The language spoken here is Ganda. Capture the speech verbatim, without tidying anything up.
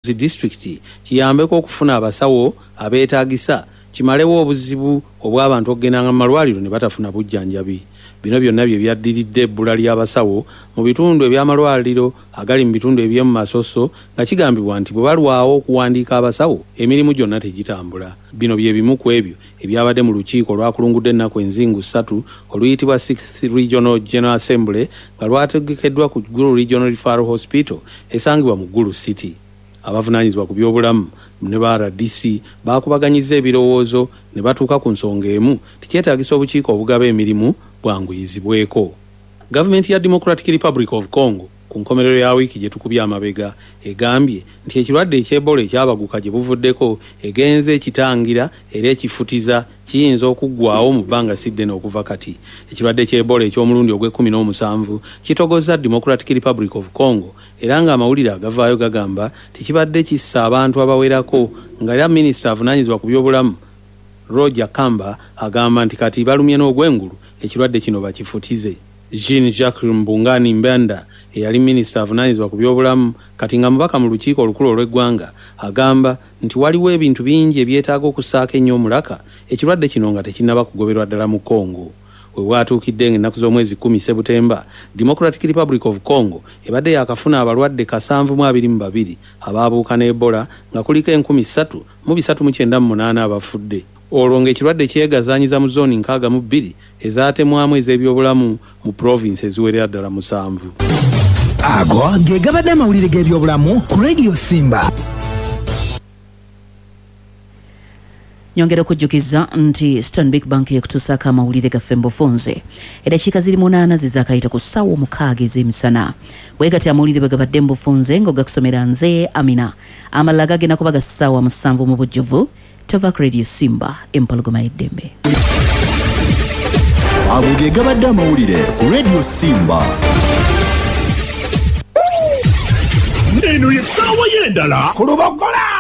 Zi disitulikiti kiyambeko okufuna abasawo abeetaagisa, kimalewo obuzibu obw'abantu okugendanga mu malwaliro ne batafuna bujjanjabi. Bino byonna bye byaddiridde ebbula ly'abasawo mu bitundu eby'amalwaliro agali mu bitundu eby'omu masoso, nga kigambibwa nti bwe balwawo okuwandiika abasawo, emirimu gyonna tegitambula. Bino bye bimu ku ebyo ebyabadde mu lukiiko olwakulungudde ennaku enzingu ssatu oluyitibwa Sixth Regional General Assembly, nga lwategekeddwa ku Gulu Regional Referral Hospital esangibwa mu Gulu City. Abavunaanyizibwa ku byobulamu ne ba R D C baakubaganyizza ebirowoozo ne batuuka ku nsonga emu tikyetaagisa obukiiko obugaba emirimu bwanguyizibweko. Gavumenti ya Democratic Republic of Congo ku nkomerero ya wiiki gye tukubye amabega egambye nti ekirwadde eky'Ebola ekyabaguka gye buvuddeko egenze ekitangira era ekifutiza kiyinza okuggwaawo mu bbanga si ddene okuva kati. Ekirwadde ky'Ebola eky'omulundi ogw'ekkumi n'omusanvu kitogozza Democratic Republic of Congo, era ng'amawulire agavaayo gagamba tekibadde kissa abantu abawerako, nga era minisita avunaanyizibwa ku byobulamu Roger Kamba agamba nti kati balumye n'ogw'engulu ekirwadde kino bakifutize. Jean-Jacques Mbungani Mbanda eyali minisita avunaanyizibwa ku byobulamu kati nga mubaka mu lukiiko olukulu olw'eggwanga agamba nti waliwo ebintu bingi ebyetaaga okussaako ennyo omulaka ekirwadde kino nga tekinnaba kugoberwa ddala mu Congo. We bwatuukidde ng'ennaku z'omwezi kkumi Sebutemba, Democratic Republic of Congo ebadde yaakafuna abalwadde kasanvu mu abiri mu babiri abaabuuka ne Ebola, nga kuliko enkumi ssatu mu bisatu mu kyenda mu munaana abafudde. Olwo ng'ekirwadde kyegazaanyiza mu zooni nkaaga mu bbiri ezaatemwamu ez'ebyobulamu mu provinsi eziwerera ddala musanvu. Ago ge gabadde amawulire g'ebyobulamu ku Radio Simba. Nyongera okujjukiza nti Stanbic Bank ekutuusaako amawulire gaffe mu bufunze. Eddakiika ziri munaana ze zaakayita ku ssaawa omukaaga ez'emisana. Bwe gatyo amawulire bwe gabadde mu bufunze ng'ogakusomera nze Amina. Amalala gagenda kuba ga ssaawa musanvu mu bujjuvu. Tova ku Radio Simba, empologoma y'eddembe. Ago ge gabadde amawulire ku Radio Simba. Eno ye ssaawa y'endala ku Lubogola.